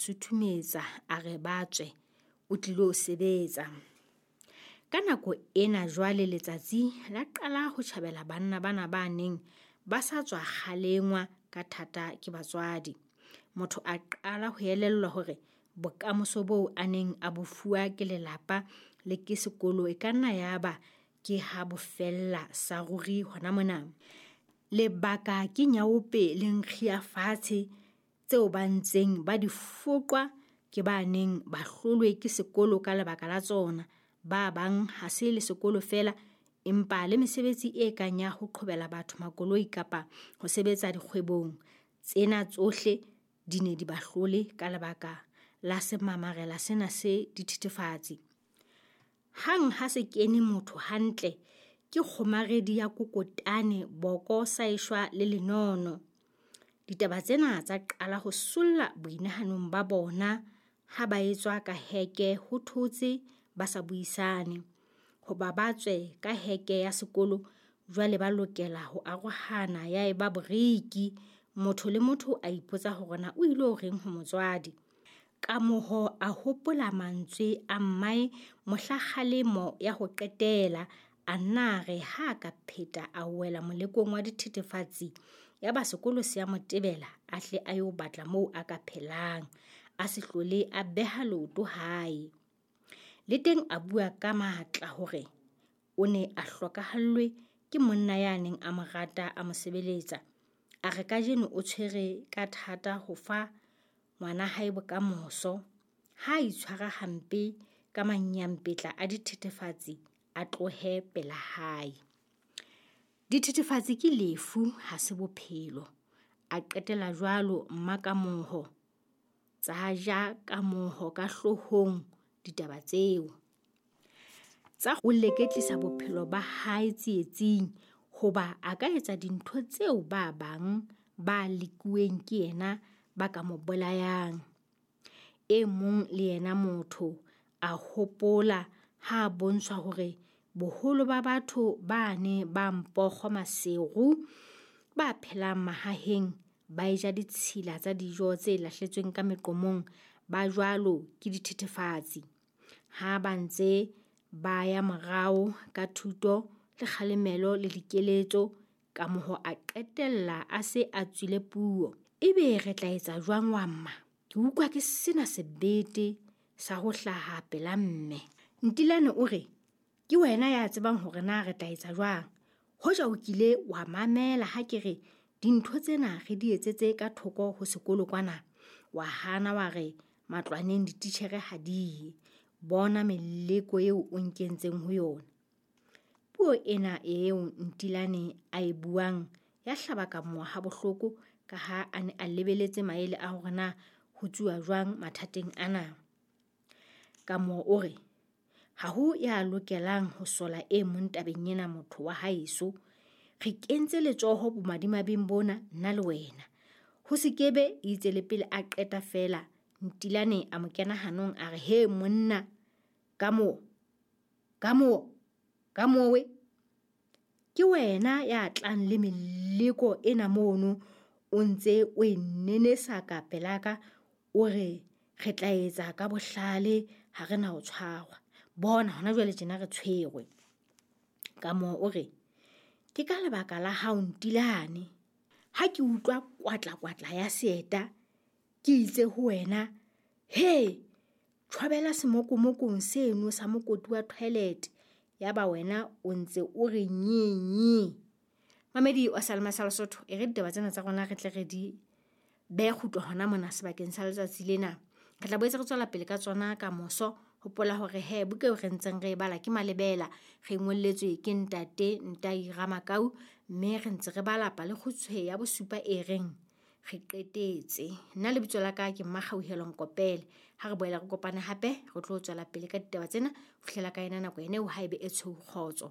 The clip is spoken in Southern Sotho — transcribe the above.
Suthumetsa a re ba tswe, o tlilo sebetsa. Ka nako ena jwale letsatsi la qala ho tjhabela banna bana ba neng ba sa tswa kgalengwa ka thata ke batswadi. Motho a qala ho elellwa hore bokamoso boo a neng a bo fuwa ke lelapa le ke sekolo e ka nna yaba ke ha bo fella sa ruri hona mona. Lebaka ke nyaope le nkgi ya fatshe tseo ba ntseng ba di foqwa ke ba neng ba hlolwe ke sekolo ka lebaka la tsona. Ba bang ha se le sekolo feela, empa le mesebetsi e kang ya ho qhobela batho makoloi kapa ho sebetsa dikgwebong. Tsena tsohle di ne di ba hlole ka lebaka la semamarela sena se dithethefatsi. Hang ha se kene motho hantle, ke kgomaredi ya kokotane, boko sa eshwa le lenono. Ditaba tsena tsa qala ho solla boinahanong ba bona ha ba etswa ka heke ho thotse ba sa buisane. Hoba ba tswe ka heke ya sekolo, jwale ba lokela ho arohana ya eba boriki. Motho le motho a ipotsa hore na o ilo reng ho motswadi. Kamoho a hopola mantswe a mmae mohla kgalemo ya ho qetela, a nna a re ha a ka pheta a wela molekong wa dithethefatsi, yaba sekolo se a mo tebela a hle a yo batla moo a ka phelang, a se hlole a beha leoto hae. Le teng a bua ka matla hore o ne a hlokahallwe ke monna ya neng a mo rata a mo sebeletsa. A re kajeno o tshwere ka thata ho fa ngwana hae bokamoso. Ha a itshwara hampe ka manyampetla a dithethefatsi, a tlohe pela hae. Dithethefatsi ke lefu, ha se bophelo. A qetela jwalo Mmakamoho. Tsa ja Kamoho ka hloohong ditaba tseo. Tsa o leketlisa bophelo ba hae tsietsing hoba a ka etsa dintho tseo ba bang ba lekuweng ke yena ba ka mo bolayang. E mong le yena motho a hopola ha a bontshwa hore boholo ba batho bane ba Mpokgo Maseru ba phelang mahaheng ba eja ditshila tsa dijo tse lahletsweng ka meqomong ba jwalo ke dithethefatsi. Ha ba ntse ba ya morao ka thuto le kgalemelo le dikeletso, Kamoho a qetella a se a tswile puo. Ebe re tla etsa jwang wa mma? Ke utlwa ke sena sebete sa ho hlaha pela mme. Ntilane o re, Ke wena ya tsebang hore na re tla etsa jwang. Hoja o kile wa mamela ha ke re dintho tsena re di etsetse ka thoko ho sekolo kwana, wa hana wa re matlwaneng dititjhere ha di ye. Bona meleko eo o nkentseng ho yona. Puo ena eo Ntilane a e buang ya hlaba Kamoa habohloko ka ha a ne a lebeletse maele a hore na ho tsuwa jwang mathateng ana. Kamoa o re, Ha ho ya lokelang ho sola e mong tabeng ena motho wa haeso. Re kentse letsoho bomadimabeng bona nna le wena. Ho se kebe itse le pele a qeta feela, Ntilane a mo kena hanong a re, He monna, Kamoo, Kamoo, Kamowe, ke wena ya tlang le meleko ena mono o ntse o e nenesa ka pelaka o re re tla etsa ka bohlale ha re na ho tshwarwa. Bona hona jwale tjena re tshwerwe. Kamoo o re, ke ka lebaka la hao Ntilane. Ha ke utlwa kwatla-kwatla ya seeta, ke itse ho wena, he, tjhwabela semokomokong seno sa mokoti wa toilet. Yaba wena o ntse o re nye-nye. Mamedi wa Salma sa Lesotho, e re ditaba tsena tsa rona re tle re di behe kgutlo hona mona sebakeng sa letsatsi lena. Re tla boetse re tswela pele ka tsona ka moso. Hopola hore he buka eo re ntseng re e bala ke Malebela, re ngolletswe ke ntate Ntai Ramakau, mme re ntse re bala palekgutshwe ya bosupa e reng re qetetse. Nna lebitso la ka ke Mmakgauhelo Nkopele. Ha re boela re kopane hape, re tlo tswela pele ka ditaba tsena ho fihlela ka ena nako ene eo haebe e tshweu kgotso.